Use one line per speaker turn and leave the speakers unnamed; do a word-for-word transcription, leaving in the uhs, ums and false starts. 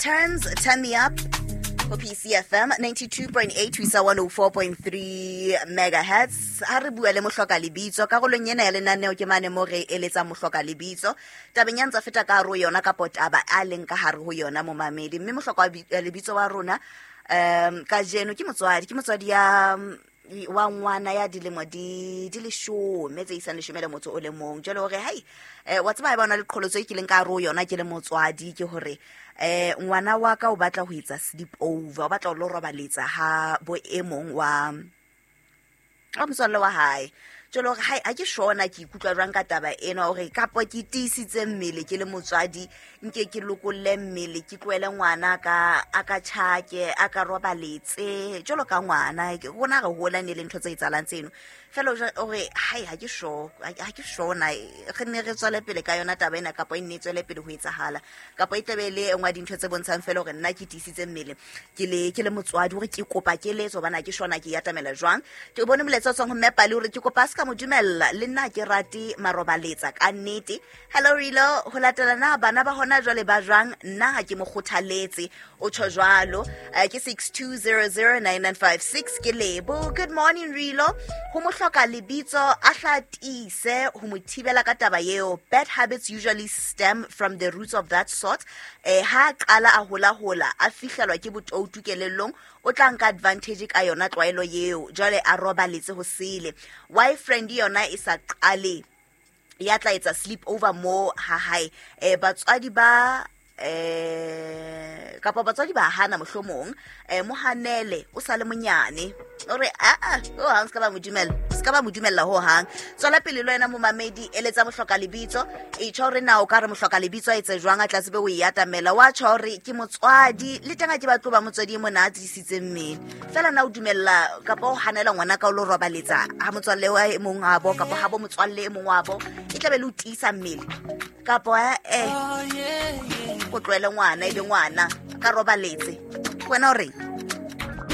Terms, Turn Me Up ho P C F M ninety-two point eight ho isa one oh four point three megahertz. Ha re bua le mohloka lebitso karolong ena ya lenaneo ke mane mo re eletsa mohloka lebitso tabeng ya ntsa feta ka hare ho yona kapo taba a leng ka hare ho yona momamedi. Mme mohloka lebitso wa rona um kajeno ke motswadi ke motswadi ya wa ngwana ya dilemo di di leshome tse isang leshome le motso o le mong. Jwale hore hai eh wa tseba ha ba ona le qholotso e kileng ka hare ho yona ke le motswadi ke hore eh ngwana wa ka o batla ho etsa sleep over, o batla ho lo robaletsa ha bo e mong wa wa motswalle wa hae. Jwale hore hai ha ke shona ke ikutlwa jwang ka taba ena hore kapo ke tiisitse mmele ke le motswadi nke ke lokolle mmele ke tlohele ngwana ka a ka tjhake a ka robaletse jwalo ka ngwana rona re hola ne le ntho tse etsahalang tseno. Fela hore hai ha ke sure ha ke shona re ne re tswele pele ka yona taba ena kapo e nne tswele pele ho etsahala kapo e tlabe le engwa dintho tse bontshang fela hore nna ke tiisitse mmele ke le ke le motswadi hore ke kopa keletso hobane ha ke shona ke yatamela jwang. Ke bone molaetsa o tswang ho Mme Pali hore ke kopa ska mo dumella le nna ke rate marobaletsa ka nnete. Hello Rilo, ho latela na bana ba hona jwale ba jwang, nna ha ke mo kgothaletse o tjho jwalo. Ke six two zero zero nine nine five six ke Lebo. Good morning Rilo, ho mo hloka lebitso a hlatise ho mo thibela ka taba eo. Bad habits usually stem from the roots of that sort. Eh ha qala a hola hola a fihlelwa ke botoutu kelellong o tla nka advantage ka yona tlwaelo eo jwale a robaletse ho sele. Why friend yona e sa qale ya tla etsa sleep over mo ha hae eh batswadi ba eh kapa batswadi ba hana mohlomong eh mohanele o sale monyane ore a a o hang ska ba mo dumella ska ba mo dumella ho hang. Tswela pele le wena momamedi eletsa mohloka lebitso e tjho hore na o ka re mohloka lebitso a etse jwang a tla tsebe o e atamela wa tjho hore ke motswadi le teng ha ke batlo ba motswadi e mona a tiisitse mmele fela na o dumella kapa o hanela ngwana ka o lo robaletsa ha motswalle wa e mong wa bo kapa ha bo motswalle e mong wa bo e tlabe le o tiisa mmele kapa eh o tlohele ngwana e be ngwana ka robaletse wena o reng.